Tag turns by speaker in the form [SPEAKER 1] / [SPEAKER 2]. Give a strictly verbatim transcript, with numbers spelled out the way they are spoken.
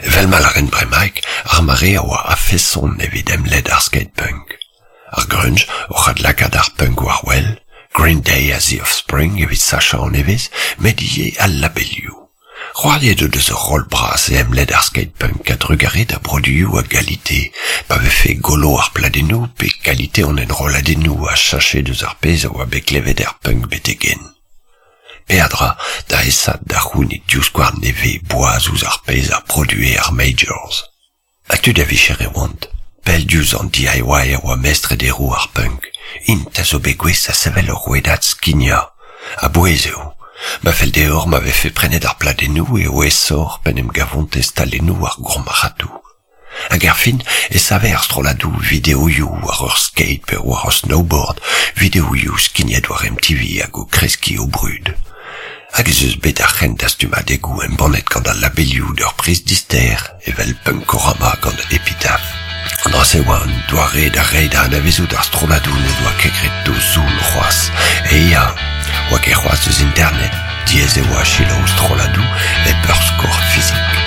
[SPEAKER 1] Evel ma lâren bremaik, ar mare a oa a-feson evit emled ar skate-punk. Ar grunge oc'h adlakaat ar punk war wel, Green Day ha The Offspring evit sachañ an evezh, met ivez al labelioù. C'hoariet o deus ur roll bras e emled ar skate-punk a-drugarez da broduioù a galite, pa vefe golo ar pladennoù pe kalite an enrolladennoù a cheñche deus ar pezh a oa bet klevet er punk betek-henn. Peadra da aesaat da c'hounit divskouarn nevez boaz ouzh ar pezh a produe ar majors. Ha tud a vicher e oant, pell diouzh an D I Y a oa mestr e deroù ar punk, int a zo bet gouest da sevel ur rouedad skignañ. A-bouez eo. Ma fell deoc'h ma vefe prenet ar pladennoù eo aesoc'h p'en em gavont e stalennoù ar gourmarc'hadoù. Hag er fin e save ar strolladoù videoioù war ur skate pe war ur snowboard, videoioù skignet war M T V hag o kreskiñ o brud. Hag ez eus bet ar c'hent dastumadegoù embannet gant al labelioù d'ur priz dister, evel Punkorama gant Epitaph. An dra-se oa un doare da reiñ da anavezout ar strolladoù n'o doa ket graet d'o zoull c'hoazh. E ya, oa ket c'hoazh eus internet, diaes e oa selaou strolladoù hep ur skor fizik.